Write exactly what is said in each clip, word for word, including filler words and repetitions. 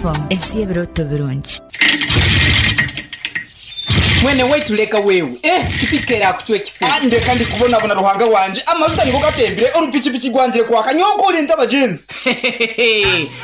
F M, ensi y'ebirooto birungi. Mwene waitu, leka wewe, eh pikipiki erakucwa ekifu. Ah, ndeka, ndikubonabona, Ruhanga wanje, amajuta nigo gatembire, orupikipiki rwangire kwaka nyonkurinze abagenzi.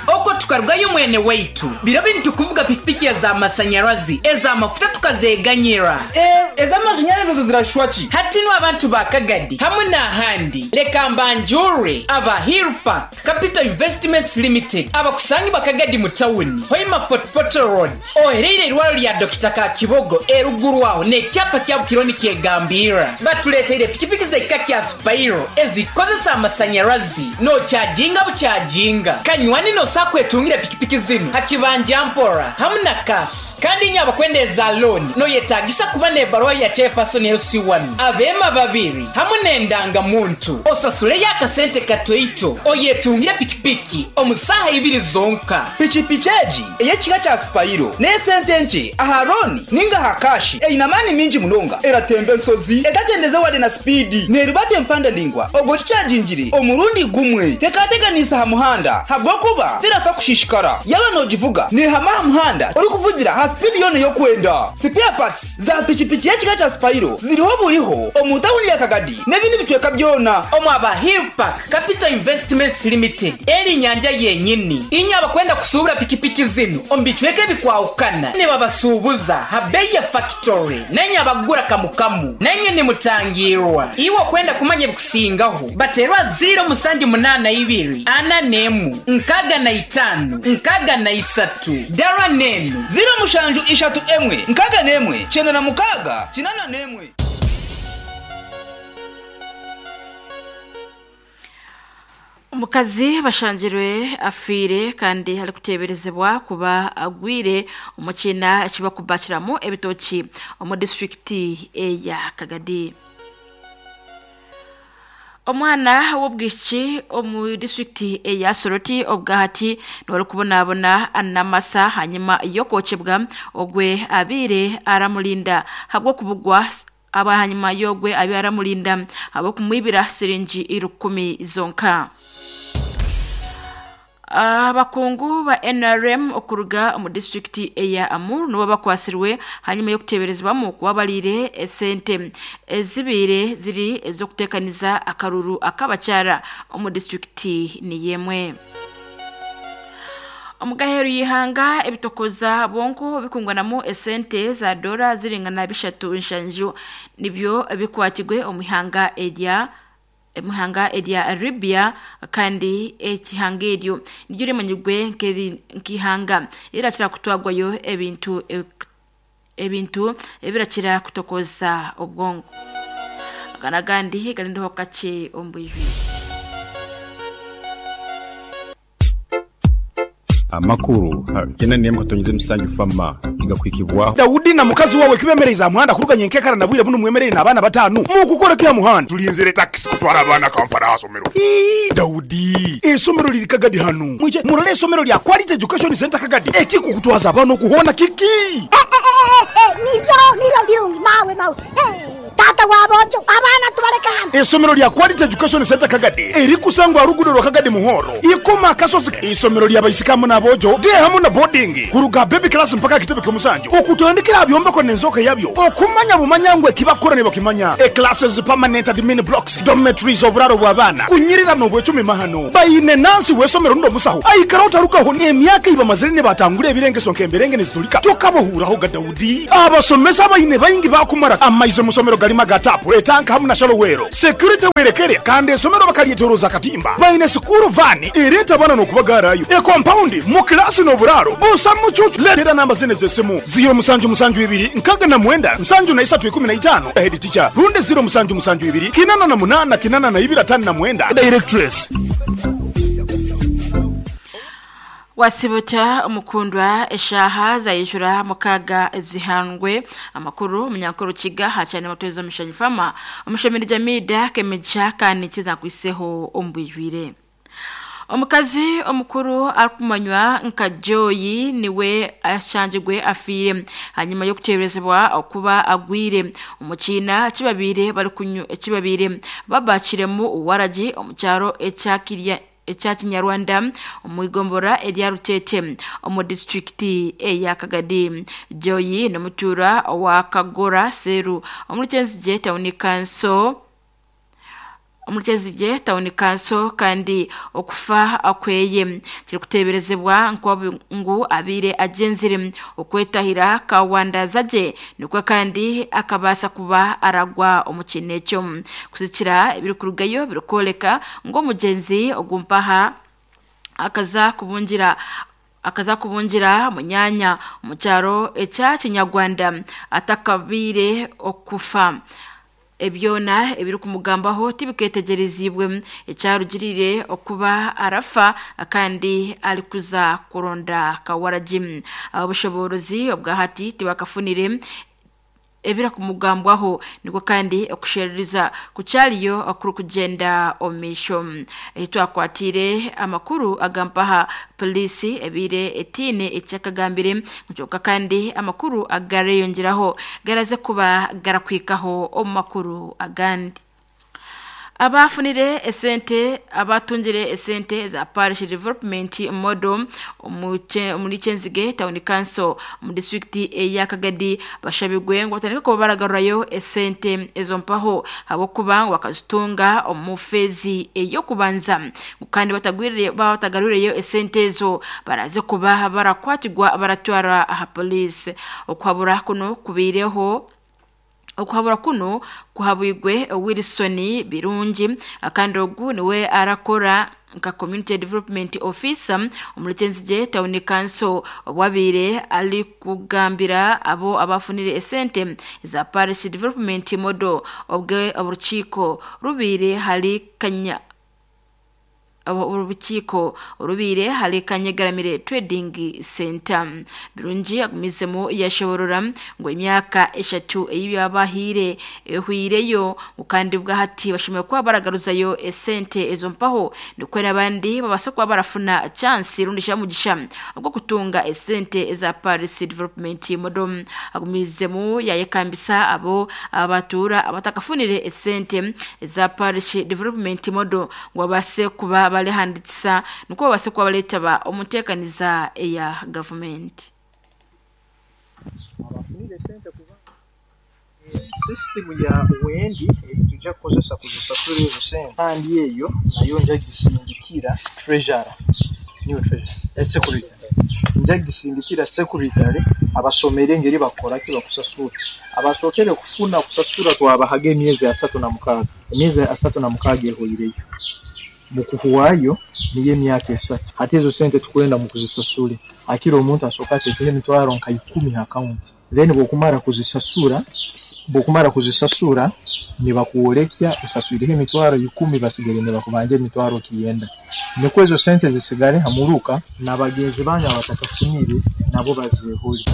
Oko tukarugayo, mwene waitu, biro bintu kuvuga pikipiki ez'amasanyarazi, ez'amafuta tukazeganyira. Eh, ez'amashanyarazi ezo zirashwa ki? Hati nu abantu ba Kagadi hamwe n'ahandi, leka mbanjure aba Hillpark Capital Investments Limited, abakusangi bakagadi mu tawuni Hoima Fort Portal Road, ohereire irwaro lya Dokita Kakibogo eruguru aho n'ekyapa kya Bukironi kyegambira. Batuleteire pikipiki z'ekika kya Spiro ezikozesa amasanyarazi, nokyajinga bukyajinga kanywani nosakwetungira pikipiki zinu hakibanja mpora hamwe na cash. Kandi inye abakwenda eza loan, noyetagisa kuba n'ebaruwa ya chairperson L C one, abema babiri hamwe n'endangamuntu, osasuleyo akasente katoito, oyetungire pikipiki omu saaha ibiri zonka. Pikipiki egi ey'ekika kya Spiro n'esente nkye aha loan ninga aha cash, eine amaani mingi munonga, eratemba ensozi etakyendeze wade na speed, neribata empanda ndingwa ogwo kikyagingire omurundi gumwe, tekateganisa aha muhanda habwokuba terafa kushishikara. Yaba nogivuga nehama aha muhanda orikuvugira ha speed yona ey'okwenda. Spare parts za pikipiki y'ekika kya Spiro ziriho buriho omu tawuni ya Kagadi n'ebindi bicweka byona. Omu aba Hillpark Capital Investments Limited, eri nyanja yenyini. Inye abakwenda kusuubura pikipiki zinu omu bicweka ebikwahukana, nibabasuubuza ha bei ya factory, nenye abagura kamukamu nenye nimutangirwa. Iwe okwenda kumanya ebikusingaho, baterwa ziro musanju munaana ibiri ana nemu nkaga na itano nkaga na isatu, dara nenu ziro mushanju ishatu emwe nkaga nemwe kyenda na mukaga kinana nemwe. Omukazi bashangirwe afiire kandi arikuteeberezebwa kuba agwire omu kiina ekibakubakiramu ebitoki omu disitulikiti eya Kagadi. Omwana w'obwishiki omu disitulikiti eya Soroti obwahati niwe arikubonabona n'amasa hanyuma y'okwokebwa ogwe abiire aramurinda habw'okubugwa aba hanyuma y'ogwe abiire aramurinda habw'okumwibira siringi rukumi zonka. Abakungu ba N R M okuruga omu disitulikiti eya Amur nibo bakwasirwe hanyuma y'okuteeberezebwamu kuba bariire esente ezibiire ziri ez'okuteekaniza akaruru ak'abakyara omu disitulikiti niyemwe. Omugaheru y'ihanga, ebitokoza bonko bikunganamu esente za dora ziringana bishatu nshanju nibyo bikwatirwe omu ihanga erya emuhanga erya Libya, kandi ekihanga eryo niryo rimanyirwe nk'ihanga rirakira kutwagwayo ebintu ebintu ebirakira kutokoza obwongo. Aga n'agandi garindiho kakye omu bwijwire. Amakuru kyenda nemwe katonyize musanju fama igakwikibwaho. Dawudi na mukazi wawe kibemereza muhanda kuruganya enkekara na bwire buno, mwemerere n'abaana batanu mukukora kya muhanda. Tulinzire takisi kutwara abaana Kampala asomero. Ii, Dawudi, esomero liri Kagadi hano, mwije murole esomero lya Quality Education Center Kagadi. Ekikukutwaza abaana okuhona kiki? Nibyo, nibyo birungi, mawe, mawe. Eh, tata wabojo, abaana tubaleka hano. Esomero lya Quality Education Center Kagadi erikusangwa rugudo rwa Kagadi Muhoro ikoma akasozi, isomero lyabaisikamu n'abojo de hamu na boarding, kuruga baby class mpaka kitebe ky'omusanju, okutandikira byombeko n'enzoka yabyo, okumanya bumanya ngwe kibakora ne bakimanya. E classes, permanent admin blocks, dormitories, oburaro bw'abaana kunyirira n'obwecumi mahano. Bayine nansi w'esomero ndo musaho aikara utarukaho n'emyaka ibamazire ne batangura ebirengeso nk'emberenge nizitulika tokabahuuraho ga Dawudi. Abasomesa bayine bayingi bakumara amaize musomero galima ga tap, etanka hamu na shallow well, security werekere, kandi esomero bakalyetoroza katimba. Bayine school van ereta abana n'okubagarayo, e compound mu klasi n'oburaro busa mucucu. Letera namba zine z'esimu: ziro musanju musanju ibiri nkaga na mwenda nsanju na isatu ikumi na itano, head teacher, rundi ziro musanju musanju ibiri kinana na munana kinana na ibiri atano na mwenda, directress. Wasibuta omukundwa, eshaha zayijura mukaga zihandwe. Amakuru omunyankuru kiga hacane mutwezo omushanyi fama omushomeri jamida kemija kandi kizakwiseho omubwijwire. Omukazi omukuru arikumanywa nka Joyi niwe ashangirwe afiire hanyuma y'okuteeberezebwa okuba agwire omu kiina kibabire bari kunyu ekibabire babakiremu waragi omu kyaro ekyakirya. ekya Kinyarwanda omu igombora erya Rutete omu disitulikiti eya Kagadi. Joyi n'omutuura wa Kagora Seru omuri Kyenzigye Town Council omuri Kyenzigye Town Council kandi okufa akweye kirikuteeberezebwa ngu abiire agyenzire okwetahira kawandazaje nikwo kandi akabaasa kuba aragwa omu kintu ekyo. Kusikira ebirikurugayo birikworeka ngu omugyenzi ogumpaha akaza kubungira akaza kubungira munyanya omu kyaro ekya Kinyarwanda atakabiire okufa. Ebyona ebirikumugambaho tibiketegerezibwe ekyarugirire okuba arafa kandi arikuza kuronda kawaragi. Obushoborozi obwahati tibakafunire ebirakumugambwaho niko kandi okushereriza kukyariyo okurukugenda omisho. Twakwatire amakuru agampaha polisi ebire etine ekyakagambire nkyonka kandi amakuru agareyongeraho garaze kuba garakwikaho omu makuru agandi. Abafunire esente abatungire esente za Parish Development Model omuri Kyenzige Town Council mu district eya Kagadi bashabigwe ngo batandike kuba baragarurayo esente ezo mpaho habwokuba ngo bakazitunga omu fezi ey'okubanza kandi batagwirire batagarureyo esente ezo baraze kuba barakwatirwa baratwara aha police. Okuhabura kuno kubireho okuhabura kuno kuhabwigwe Wilson Birungi kandi ogu niwe arakora nka Community Development Officer omuri Kyenzigye Town Council obwabire ali kugambira abo abafunire esente za Parish Development Model obwe oburukiiko rubire hali kanya orukiiko orubire hali Kanyegaramire Trading Center. Birungi agumizemu yashoborora ngo emyaka eshatu ey'abahire ehwireyo kandi bwahati bashimwe kuba baragaruzayo esente ezo mpaho nikwo n'abandi babasa kuba barafuna chance rundi shamugisha ogwo kutunga esente eza Parish Development Model. Agumizemu yayekambisa abo abatura abatakafunire esente za Parish Development Model ngo babase kuba balehanditsa niko babase kuba baletaba omuteekaniza eya gavumenti. Abafunire sente kuba system ya wendi tujja kukozesa kuzisasura ezo sente kandi eyo nayo nja gisindikira treasurer niwe treasurer secretary nja gisindikira secretary abasomere engeri bakora ki bakusasura. Abasookere kufuna kusasura twabahaga emyezi asatu na mukaaga emyezi asatu na mukaaga ehoireyo mukuhuwayo niyo emyaka esatu hati ezo sente tukwenda mukuzisasure akira omuntu asooka ateekeho emitwaro nka ikumi ha akaunti then bwokumara kuzisasura bwokumara kuzisasura nibakuworekya osaswireho emitwaro ikumi basigare nibakubanja emitwaro kiyenda nikwo ezo sente zisigare hamuruka n'abagenzi banyu abatakafunire nabo bazehole.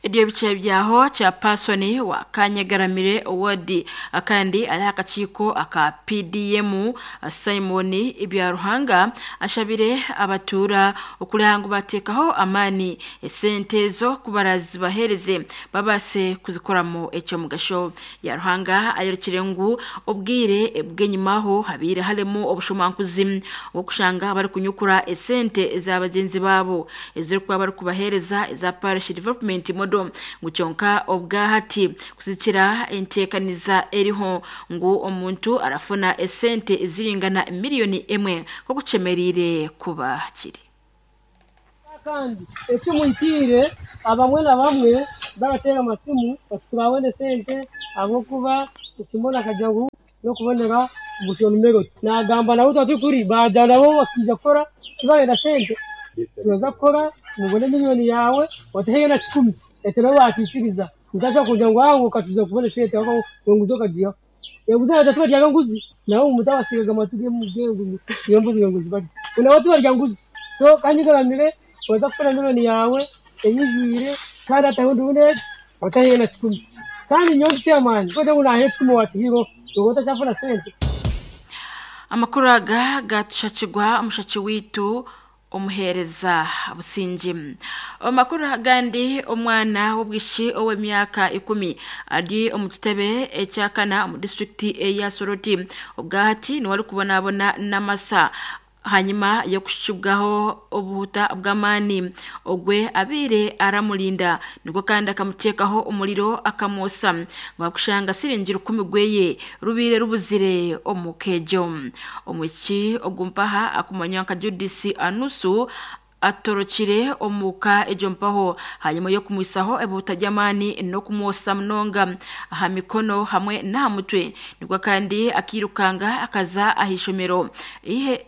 Ebyo bice byaho cha Pasoni wa Kanyegaramire Ward akandi ali akakiiko aka P D M Simon Ibyaruhanga ashabire abatura okulangu batekaho amani esente zo kubarazi bahereze babase kuzikoramo ekyo mugasho. Ya Ruhanga ayorokire ngu obwire bwenyumaho habire halemo obushumankuzi okushanga bari kunyukura esente z'abagenzi babo eziri kuba bari kubahereza eza Parish Development Model ngu kyonka obwahati kuzikira enteekaniza eriho ngu omuntu arafuna esente eziringana miliyoni emwe kokuchemerire kuba kiri. Kandi ekimwitire abamwe na bamwe baratera amasimu bati sente abokuba ekimona kajagu nokubonera bushonumero nagamba nabo twatukuri baja nabo bakija kukora kibagenda sente tuza kukora mubone miliyoni yawe wateheye na kikumi ete nabo bakikiriza ntacha kuja ngo aho katiza kubona sente aho nguzo kajiya yaguza atatu rya nguzi nawo mutawasigaga matuge mugengu iyo mbuzi nguzi bari kuna watu barya nguzi so kandi garamire waza kukora miliyoni yawe eyijwire kandi atahundi une wateheye na kikumi kandi nyonzi chairman ko ndabona hepfo watihiro ugota chafuna sente Amakuru aga gatushakirwa omushachi witu Omuhereza Busingi. Omakuru agandi, omwana w'obwishi ow'emyaka ikumi ari omu kitebe ekyakana omu disitulikiti eya Soroti obwahati niwe arikubonabona n'amasa hanyuma yokushibwaho obuhuta bw'amaani ogwe abiire aramurinda, nibwo kandi akamuteekaho omuriro akamwosa ngwakushanga siringi rukumi gweye rubiire rubuzire omu kejo. Omwishiki ogumpaha akumanywa nka Judith Anusu atorokire omuka ejo mpaho hanyuma yo kumwisaho ebuta ry'amaani n'okumwosa munonga aha mikono hamwe n'aha mutwe, nibwo kandi akirukanga akaza ah'ishomero ihe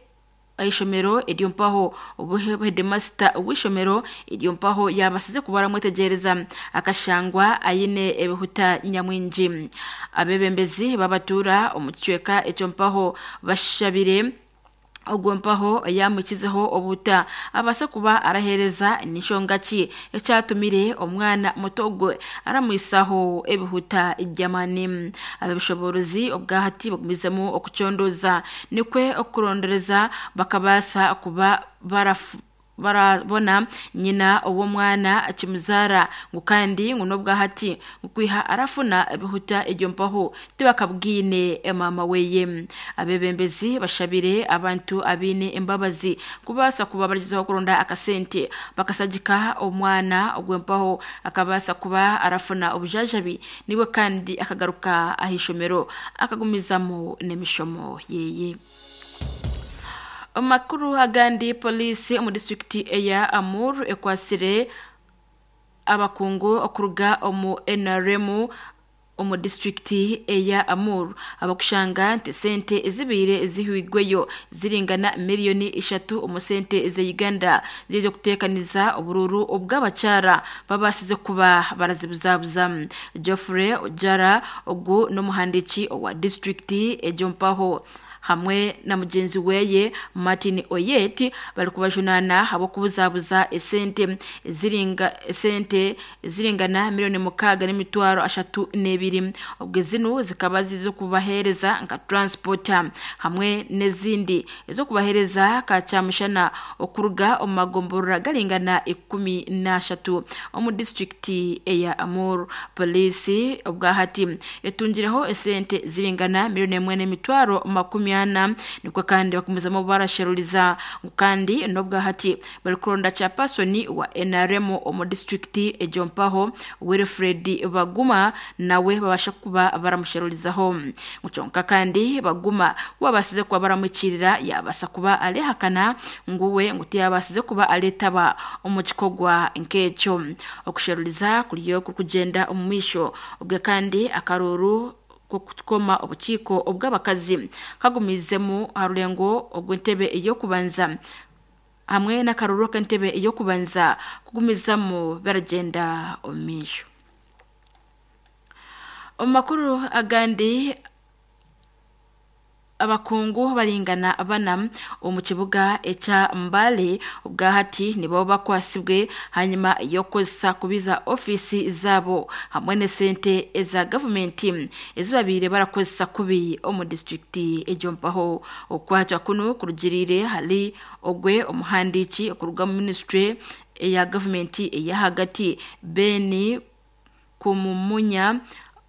ishomero eryo mpaho headmaster w'ishomero eryo mpaho yabasize kubaramwetegereza akashangwa ayine ebihuta nyamwingi. Abebembezi babatura omu kicweka ekyo mpaho bashabire ogwo mpaho yamukizeho obuta abasa kuba arahereza nishonga ki ekyatumire omwana muto gwe aramwisaho ebihuta jamani. Abebishoborozi obwahati bagumizemu okucondoza nikwe okurondereza bakabasa kuba barafu barabona nyina uwo mwana akimuzara ngo kandi ngo nobwahati ngukwiha arafuna ebihuta egyo mpaho tibakabwine mama weye. Abebembezi bashabire abantu abine embabazi kubasa kuba barizeho kuronda akasente bakasagika omwana ogwempaho akabasa kuba arafuna obujajabi niwe kandi akagaruka ahishomero akagumizamo n'emishomo yeye. Amakuru agandi, polisi omu disitulikiti eya Amur ekwasire abakungu okuruga omu N R M omu disitulikiti eya Amur abakushanga nti sente ezibiire zihwigweyo ziringana miliyoni ishatu omu sente ze Uganda zirizo kuteekaniza obururu obw'abakyara babasize kuba barazibuzabuza. Geoffrey Ojara ogu n'omuhandiiki owa disitulikiti egyo mpaho hamwe na mugenzi weye Martin Oyeti bari kubajunana habo kubuzabuza esente ziringa esente ziringana miliyoni mukaga n'imitwaro ashatu n'ebiri, ubwo zino zikaba zizo kubahereza nka transporter hamwe n'ezindi ezo kubahereza kacyamushana okuruga omu magomborora garingana ikumi n'ashatu omu disitulikiti eya Amur. Polisi obwahati etungireho esente ziringana miliyoni emwe n'imitwaro makumi ana, nikwo kandi bakumuzamo barasheruriza kandi nobwahati bari kuronda chairperson wa N R M omu disitulikiti egyo mpaho Wilfred Baguma nawe babasha kuba baramusherurizaho. Mukyonka kandi Baguma wabasize kuba baramukirira yabasa kuba alehakana nguwe nguti yabasize kuba aletaba omu kikogwa nk'ekyo. Okusheruriza kuriyo kugenda omu misho ubwe kandi akaruru kukoma obukiiko obw'abakazi kagumizemu harulengo ogw'entebe ey'okubanza hamwe n'akaruru k'entebe ey'okubanza kugumizamu baragenda omu misho. Omu makuru agandi, abakungu baringana bana omu kibuga ekya Mbale ubwahati nibo bakwasibwe hanyuma yokozesa kubiza ofisi zabo hamwe n'esente eza gavumenti ezibabire barakozesa kubi omu disitulikiti egyo mpaho. Okwatwa kuno kurugirire hali ogwe omuhandiiki okuruga mu ministry eya gavumenti eya hagati Beni Kumumunya,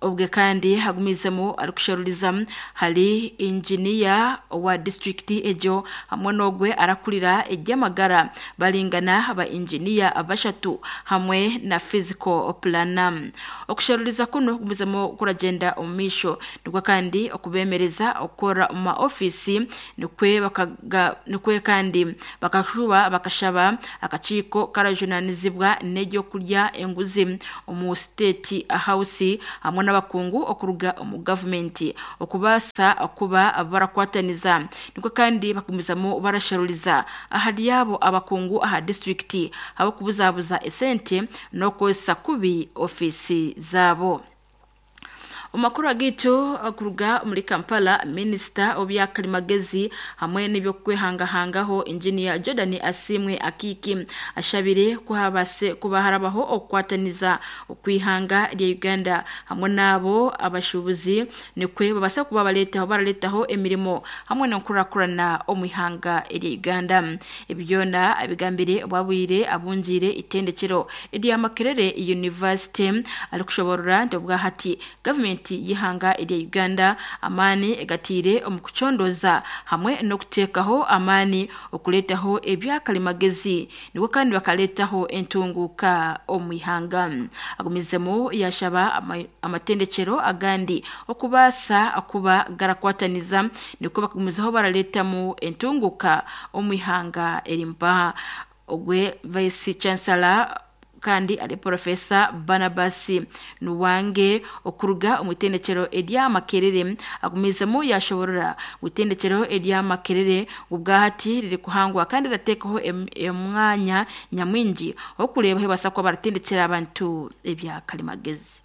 obwe kandi hagumizemu arikusheruriza hari engineer wa district egyo hamwe n'ogwe arakurira eby'amagara baringana ba engineer abashatu hamwe na physical planner. Okusheruriza kuno kugumizemu kuragenda omu misho nibwo kandi okubemereza okukora omu ma ofisi nikwe bakaga nikwe kandi bakashuba bakashaba akakiiko karajunanizibwa n'ebyokurya enguzi omu state house hamwe n'abakungu okuruga omu gavumenti okubasa okuba barakwataniza niko kandi bakumizamu barasharuriza ahari abo abakungu aha disitulikiti abakubuzabuza esente n'okozesa kubi ofisi zabo. Omakuru agitu kuruga muri Kampala, Minister obyakalimagezi hamwe n'ibyo kwehangahangaho Engineer Jordan Asimwe Akiki ashabire kuhabase kuba harabaho okukwataniza okwihanga lya Uganda hamwe nabo abashubuzi nikwe babasa kuba baletaho baraletaho emirimo hamwe n'okurakurana omwihanga lya Uganda. Ebyona abigambire bwabwire abunjire itendekero erya Makerere University ari kushoborora nti obwahati government yihanga erya Uganda amani egatire omu kucondoza hamwe n'okuteekaho amani okuletaho ebyakalimagezi niwe kandi bakaletaho entunguka omwihanga. Agumizemu yashaba amatendekero agandi okubasa akuba garakwataniza niko bakugumizaho baraletamu entunguka omwihanga erimpaha. Ogwe Vice Chancellor kandi ali Professor Barnabas Nuwange okuruga omutendekero erya Makerere agumizemu yashoborora mutendekero erya Makerere ubwahati riri kuhangwa kandi ratekaho emwanya nyamwingi okureba hebasa ko baratendekera abantu ebya kalimagezi.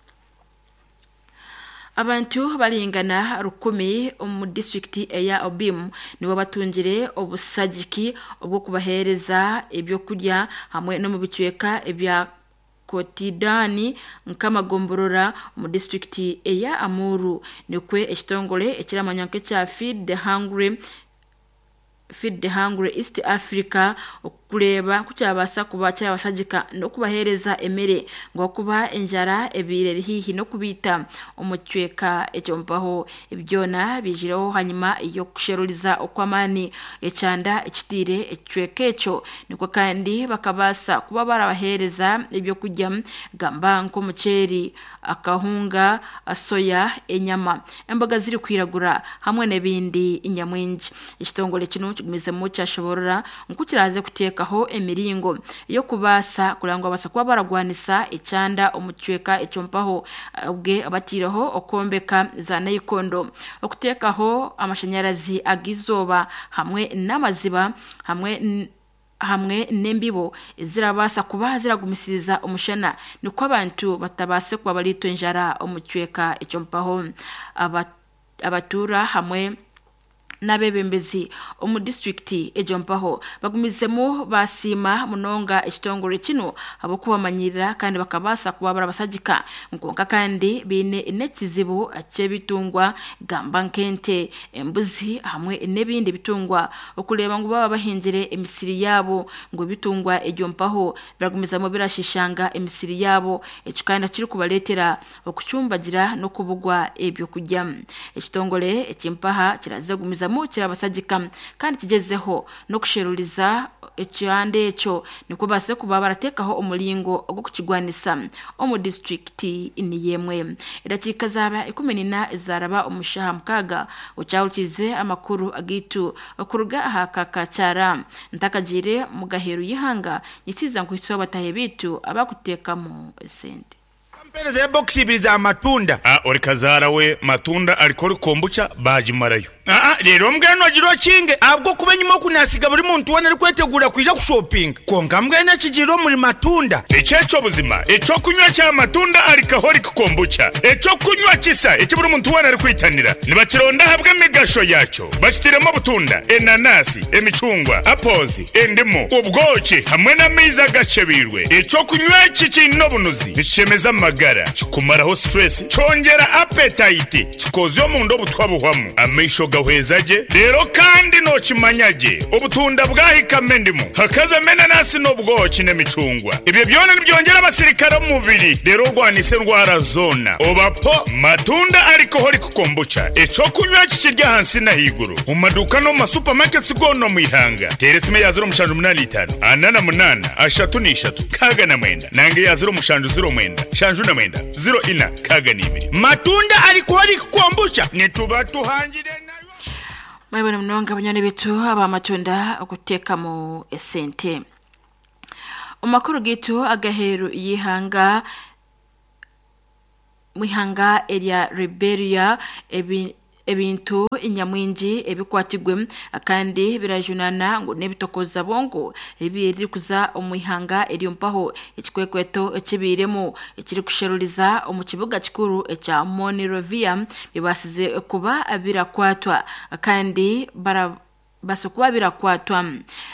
Abantu balingana rukumi omu district eya Obim nibo batungire obusagiki obwo kubahereza ebyokurya hamwe no mu bicweka ebya Kotidani nkamagomborora mu district eya Amuru nikwe ekitongole ekiramanya nk'ekya Feed the Hungry Feed the Hungry East Africa okureba kukyabasa kuba kyabasagika no kubahereza emere ngo kuba enjara ebire hihi no kubita omucweka ekyompaho. Ebyona bijireho hanyuma yo kusheruriza okwamani ekyanda ekitire ecweka ekyo niko kandi bakabasa kuba barabahereza ebyo kujya gamba nkomuceri, akahunga, soya, enyama, emboga ziri kwiragura hamwe n'ebindi inyamwingi. Ekitongole kino kigumizemu kyashoborora nkukiraze kuteekaho emiringo yo kubasa kurangwa basa kuba baragwanisa ekyanda omucweka ekyompaho ubwe abatireho okombeka za nayikondo, okuteekaho amashanyarazi agizoba hamwe n'amaziba hamwe hamwe n'embibo zirabasa kuba ziragumisiriza omushana niko abantu batabase kuba balitwe enjara omucweka ekyompaho. Abatura hamwe n'abebembezi omu district ejompaho bagumizemu basima munonga ekitongole kino abokubamanyirira kandi bakabasa kuba barabasagika nkonka kandi bine n'ekizibu ky'ebitungwa gamba nkente, embuzi hamwe n'ebindi bitungwa okureba ngu baba bahingire emisiri yabo ngo bitungwa ejompaho biragumizamu birashishanga emisiri yabo ekyo kandi kiri kubaletera okucumbagira n'okubugwa ebyo kujya. Ekitongole ekimpaha kiraza gumiza kirabasagika kandi kigezeho no kusheruriza ekyande ekyo niko base kuba baratekaho omulingo ogw'okukigwanisa omu district niyemwe. Edakika zaba ikumi nina ezaraba omushaha mukaga ocyawukize amakuru agitu okuruga aha kakacara ntakagire mugaheru yihanga nyikiza nkuhitso batahe bitu abakutekamu sente. Mpereza ya box ibiri za matunda. Ah, ori kazara we matunda alikori kombucha bajimarayo. Ah, ah, rero mbweno agiro kinge abwo kuba nyuma kunasiga buri muntu wena ari kwetegura kwija kushopping. Konka mbwene kigiro muri matunda. Echecho buzima, echo kunywa cha matunda alcoholic kombucha. Echo kunywa kisa ekiburi muntu wena ari kwitanira. Nibakironda habwe migasho yacho. Bakitiremo butunda, enanasi, emicungwa, apples, endimu, ubwoki hamwe n'amaizi agacebirwe. Echo kunywa kikino bunuzi. Nikishemeza amagara, kikumaraho stress, cyongera appetite, kikozyo mu ndo butwabuhwamu. Amaisho gahwezaje rero kandi nokimanyage obutunda bwahikame ndimu hakaza menanasi n'ubwoki n'emicungwa. Ibyo byona nibyongera abasirikare mu mubiri rero rwanise ndwara zona. Obapo matunda alcoholic kombucha eco kunywa kikirya hansi na higuru mu maduka no mu supermarkets gono mu ihanga. Teresime ya zero mushanju munani itanu anana munana ashatu n'ishatu kaga na mwenda nange ya zero mushanju zero mwenda shanju na mwenda zero ina kaga n'ibiri. Matunda alcoholic kombucha nituba tuhangire. Mwebone mnonga banyoni bitu aba matunda okutekamo esente. Omakuru gitu agaheru yihanga mwihanga erya Liberia ebi ebintu nyamwingi ebikwatigwe kandi birajunana ngo n'ebitokoza bongo ebiri kuza omu ihanga eryompaho ekikwekweto ekibiremu ekiri kusheruriza omu kibuga kikuru ekya Monrovia bibasize kuba birakwatwa kandi bara basokuba birakwatwa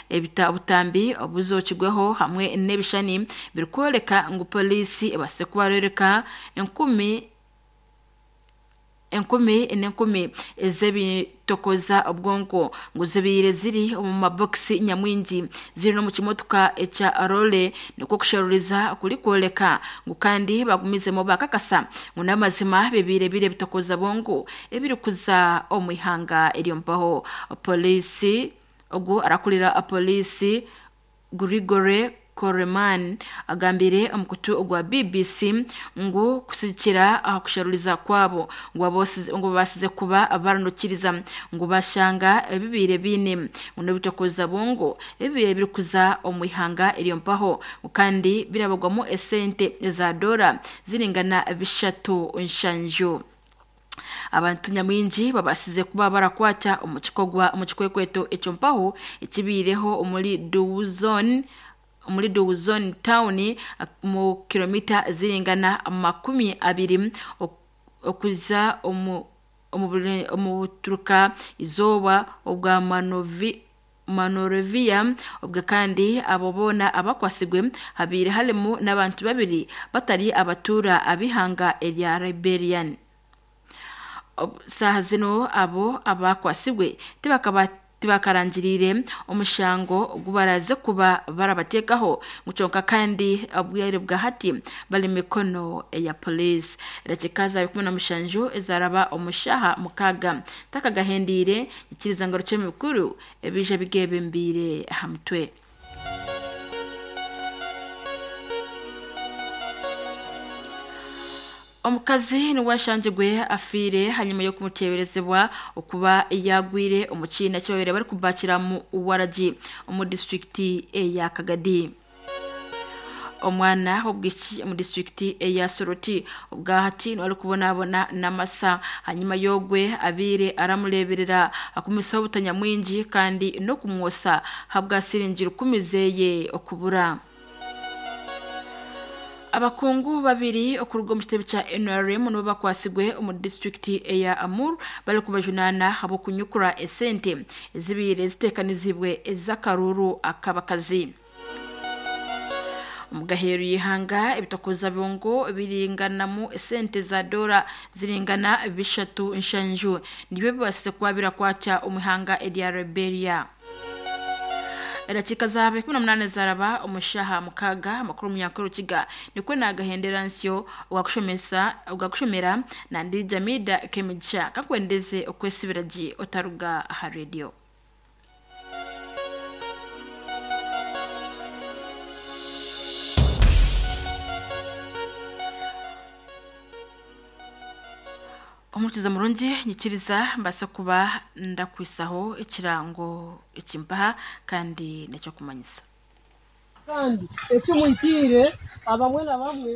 ebita butambi obuzokigweho hamwe n'ebishani birikwoleka ngu polisi ebase kubarereka enkumi enkumi n'enkumi ez'ebitokoza obwonko ngu zibiire ziri omu mabokisi nyamwingi ziri no mu kimotoka ekya role nikwo kusheruriza kuri kwoleka ngu kandi bagumizemo bakakasa ngu n'amazima bibiire bire bitokoza bongo ebiri kuza omu ihanga eryompaho. Polisi ogwo arakurira polisi Grigore Koreman agambire omukutu ogwa B B C ngu kusikira aho kusharuriza kwabo ngu abose ngu basize kuba baranukiriza ngu bashanga ebibire bine ngo n'ebitokoza bongo ebibire biri kuza omu ihanga eryompaho kandi birabagwamo esente za dola ziringana bishatu nshanju. Abantu nyamwingi babasize kuba barakwata omu kikogwa omu kikwekweto ekyompaho ekibireho omuri Duwuzone muri Duwuzone town mu kilomita ziringana makumi abiri okuza omu omu buturuka izoba obwa Manovi Manorovia obwa kandi abo bona abakwasigwe habiri harimo n'abantu babiri batari abatura abihanga erya Liberian. Saha zino abo abakwasigwe tibakaba tibakarangirire omushango gubaraze kuba barabatekaho nguconka kandi abwere bwa hati bali mikono ya police. Rakikaza bikumi na mushanju ezaraba omushaha mukaga takagahendire ikiriza ngo ruce mikuru ebije bigebe mbire hamtwe. Omukazi ni washanjigwe afire hanyuma yo kumuteberezebwa okuba yagwire omukina cyabere bari kubakira mu Waragi mu district ya Kagadi. Omwana w'obwiki mu district ya Soroti ubwahati wari kubonabona namasa hanyuma yogwe abire aramureberera akumisaho butanya mwingi kandi no kumwosa habwa siringira kumizeye okubura. Abakungu babiri okuruga mu kitebe kya N R M nibo bakwasigwe omu district ya Amur bari kubajunana habo kunyukura esente ezibire zitekanizibwe ezakaruru akabakazi. Omugaheru yihanga ebitokoza bongo biringanamu esente za dola ziringana bishatu nshanju nibyo bibase kuba kwacha omuhanga erya Liberia. Erakika zabe kumi na munane zaraba omushaha mukaga amakuru munyankuru kiga nikwe nagahendera nsyo ogakushomesa ogakushomera na ndi Jamida Kemicha kakwendeze okwesibiraji otaruga ha radio. Omutiza murungi nyikiriza mbasa kuba ndakwisaho ekirango ekimpaha kandi necyo kumanyisa kandi ekimwitire abamwe na bamwe.